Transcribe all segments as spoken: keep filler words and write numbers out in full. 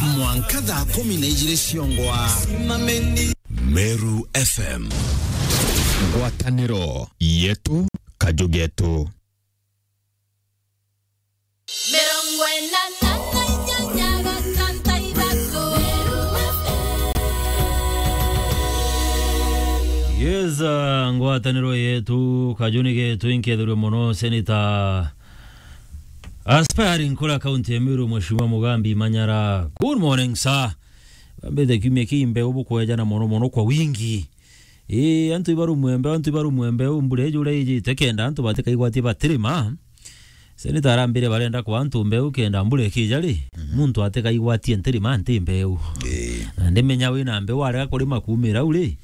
Mwanka thaa kumi na ijiri ciongwa. Meru F M. Ngwataniro yetu, kaju getu. Mirongo ina na inyanya gatantu ithatu. Yes, uh, ngwataniro yetu, kajuni getu, inkethirwe mono, Senator Aspiring kura kaunti ya Meru, Mheshimiwa Mugambi Manyara. Good morning, sir. Bambite kiumia kii mbeu bukwejana mono mono kwa wingi. Ii, antu ibarumwe mbeu, antu ibarumwe mbeu, mbura iji uria ijite kenda antu batikaigwatie batirima. Senator arambire barenda kwa antu mbeu kenda mbura ikija ri, mhm, muntu atikaigwatie ntirima nti mbeu. Ii. Na ndimenya wina mbeu arega kurima kuumira u ri,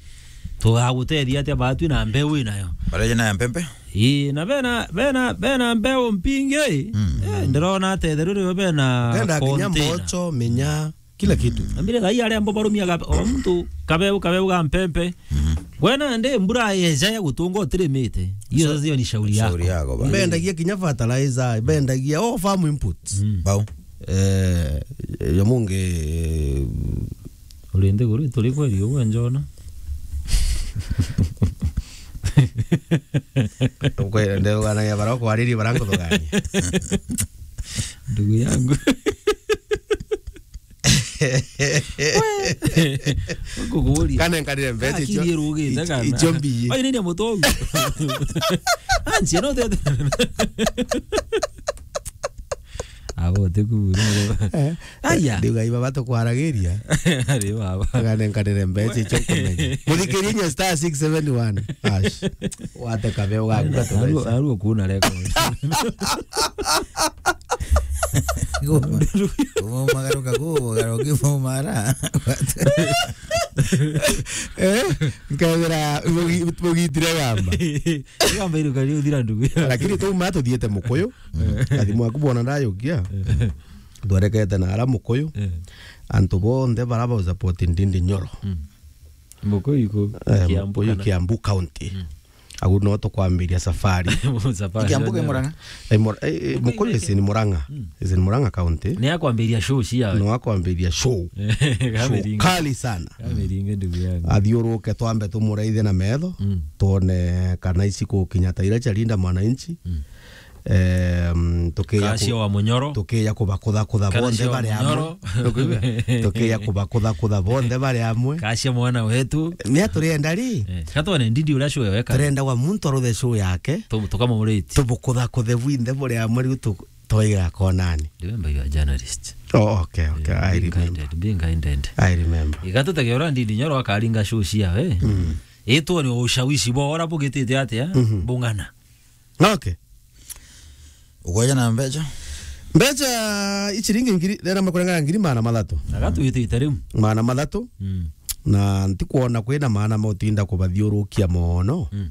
tugagutethia atia batwi na mbeu winayo? Bareje na ya mpempe? Ii, na bena, bena, bena mbeu mpingi, mm, eh, ndirona atetheru rio bena kenda kinya container. Mboco, minya, kila kitu. Ambire thai aria mbo barumia ga-, o muntu kabeu, kabeu ga mpempe. Mhm. Gwena ndi mbura yeja ya gutunga utirimite. Iyo sasa hiyo ni shauri yako. Shauri yako bana. Bendagia kinya fertilizer, bendagia all farm inputs. Mm. Bau. Eh, yo mungi, eh, uri nthiguru ituri kweri uwe njona. Ukwe-, ndeganagia bara kwaririe bara nkuthugania. Ndugu yangu. Kukuria. Kana nkarire mbeca icio. Akiri irugite kana. Icio mbii. Ai, nini mutongu? Anzi, no tete. Abo te kuura. Eh. Aya. Ndiuga iba batukwaragiria. Ari baba. Kana nkarire mbeca icio nkumenya. Muthikirie nya star six seven one hash. Wate kabeo gaku gatubeca. Aru, aru kuna record. Kumagaruka, kumagaruka, kumara. Eh? Nkabira, mugi-, mugitire gamba. Gamba iruka riu thira ndugu. Lakini tuma tuthiete Mukuyu. Mm. Athimu aku bona ndayukia. Eh. Twerekete na ara Mukuyu. Eh. Antu bonthe bara ba support Ndindi Nyoro. Mm. Mukuyu iku, eh, Kiambu Mukuyu kana? Kiambu County. Mm. Au no tukwambiria safari. Safari. Kiambu ke Murang'a? Eh, Mur-, eh, eh, Mukuyu is in Murang'a. Mm. Is in Murang'a County. Ni akwambiria show cia. No akwambiria show. Show kali sana. Kamiringe ndugu yangu. Athiuruke twambe tumuraithe na metho. Mm. Tuone kana ici kukinya ta ira cia Linda Mwananchi. Mm. Em, tukiya ku-, Kacia wa Munyoro. Tukiya kubakutha kutha bonthe bari amwe. Kacia wa Munyoro. Tukiya kubakutha kutha bonthe bari amwe. Kacia mwana wetu. Ni aturienda ri? Eh, gatwane Ndindi uria show weka. Turenda wa muntu aruthe show yake. Tu-, tukamuriti. Tubukutha kuthe bwinthe buri amwe riu tu-, twaiga konani. Remember you are a journalist. Oh, okay, okay. Eh, I remember. Being guided, being guided. I remember. Igatutege uria Ndindi Nyoro akaringa show ciawe. Mm. Itwone ushawishi bora bugitite atia? Mhm. Bung'ana. Okay. Ukoja na mbeca? Mbeca iciringi ngiri, rera makurengana ngiri maana mathatu. Na gatwitite riu. Maana mathatu. Mm. Na ntikwona kwina maana ma utinda kubathiurukia mono. Mm.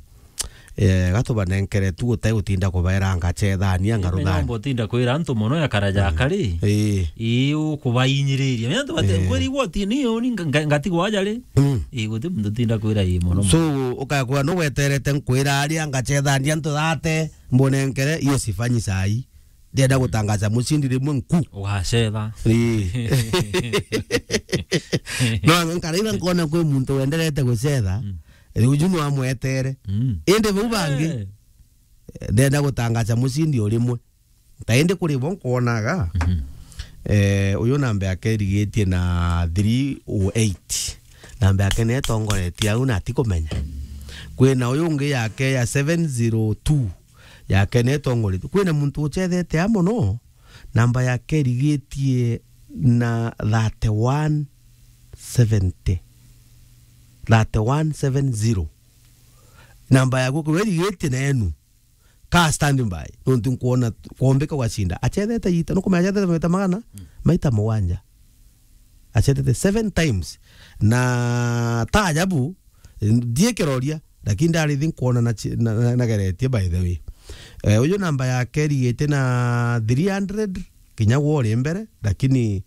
Eh, gatubanenkere tu utai utinda kubaera ngacethania. Menya ngarutha. Nomba utinda kwira antu mono ya karaja, mm, kari. Ii. Ii, ukubainyirirria. Menya antu bate, eh, kweri igwa ti ni yo ni nga-, nga-, ngatigwa aja ri. Mm. Ii, guti muntu utinda kwira ii mono. So, ukakwa no weterete nkwira aria ngacethania antu thate, mbonenkere, iyo sifanyi sai. Ndienda gutangaza mucindi rimwe nku. Ugacetha. Ii. No, nkaraitha nkona kwi muntu wenderete gucetha. Mm. Riu ju no amwetere. Mm. Indi bau bangi, eh, ndenda gutangaza mucindi o rimwe. Ta indi kuri bo nkwonaga, mhm, eh, uyu namba yake irigitie na three oh eight. Namba yake ni itongoretie au na atikumenya. Kwina uyu ungi yake ya seven zero two, yake ni itongoretie. Kwina muntu ucethete a mono, namba yake irigitie na thirty-one seventy. Thirty-one seven zero. Namba yaku kwirwa irigitie na enu. Ka standby. Nontu nkwona kwombika gwacinda. Achethete ita, nukumenya achethete maita magana? Mm. Maita mugwanja. Achethete seven times. Na ta ajabu, ndie kiroria, lakini ndarithi nkwona na chi-, na, na, nageretie by the way. Eh, uyu namba yake irigite na three hundred, kinya gwe uri mbere, lakini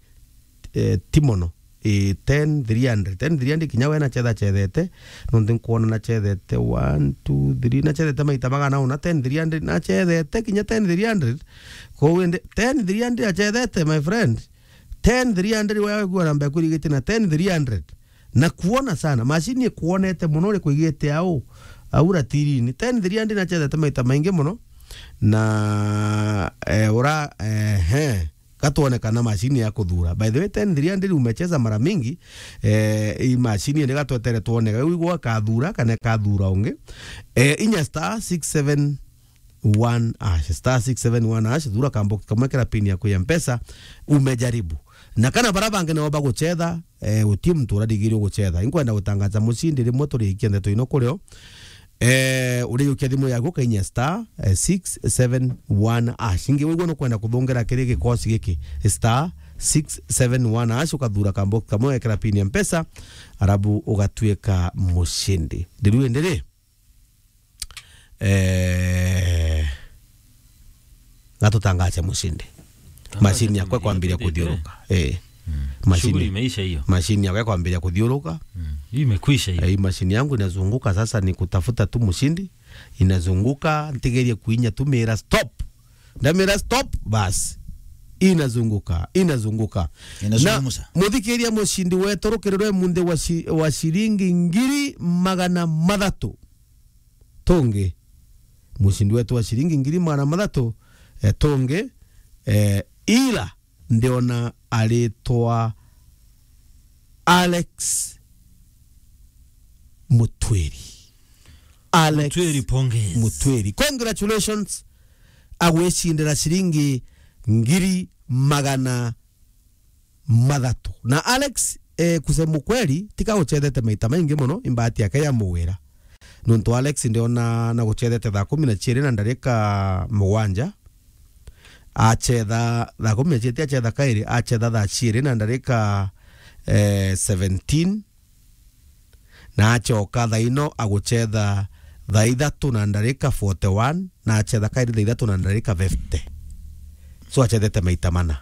eh, ti mono. Eh, ten three hundred. Ten three hundred kinya we nachetha chethete. Nontu nkwona nachethete one, two, three. Nachethete maita magana una, ten three hundred. Nachethete kinya ten three hundred. Kou indi, ten three hundred achethete, my friend. Ten three hundred, wewe gua namba yaku irigite na ten three hundred. Na kuona sana, machine ikuonete mono, uri kuigite au, au ratirini. Ten three hundred nachethete maita maingi mono. Na, eh, ura, eh, he, gatuone kana machine ya kuthura. By the way, ten three hundred umecheza mara mingi, eh, hii machine ni gatwetere tuone, wigwa kathura kana kathura ungi. Eh, inya star six seven one hash, star six seven one hash, thura kambox kamwe, kera pin yaku ya Mpesa, umejaribu. Na kana bara bangi nao baguchetha, eh, uti muntu urarigirio guchetha. Inkwenda gutangaza mucindi rimwe turiikia ndeto ino kurio. Eh, uriukia thimu yaku, kainya star, eh, six seven one hash. Ingi wigwa nukwenda kuthungira kiri gikosi giki, star six seven one hash, ukathura kambox kamwe, wekera pin ya Mpesa, arabu ugatuika mucindi. Ndiru indiri? Eh, gatutangaze mucindi. Tangaze machine yakwa mucindi, kwambiria tuthikire. Kuthiuruka. Eh. Mm. Machine, shughuli imeisha hiyo. Machine yakwa kwambiria kuthiuruka. Mm. Hiyo imekwisha hiyo. Eh, hii machine yangu inazunguka sasa, ni kutafuta tu mshindi. Inazunguka, ntigerie kuinya tu mira stop. Ndamira stop, basi. Inazunguka, inazunguka. Inazungumza. Na muthikiria mucindi wetu rukiriro munthi wa shi-, wa shilingi ngiri magana mathatu. Tungi. Mucindi wetu wa shilingi ngiri magana mathatu, eh, tungi, eh, ila ndiona aritwa Alex Mutwiri. Alex Mutwiri, pongezi. Mutwiri. Congratulations. Agwicindira shilingi ngiri magana mathatu. Na Alex, eh, kusema ukweli, tika guchethete maita maingi mono, imbati yake ya muwira. Nontu Alex ndiona na guchethete thaa kumi na chiiri na ndarika mugwanja. Achetha thaa kumi na chiiri, achetha kairi, achetha thaa chiiri na ndarika, eh, seventeen. Na achoka thaa ino aguchetha thaa ithatu na ndarika forty-one, na achetha kairi thaa ithatu na ndarika fifty. So achethete maita mana.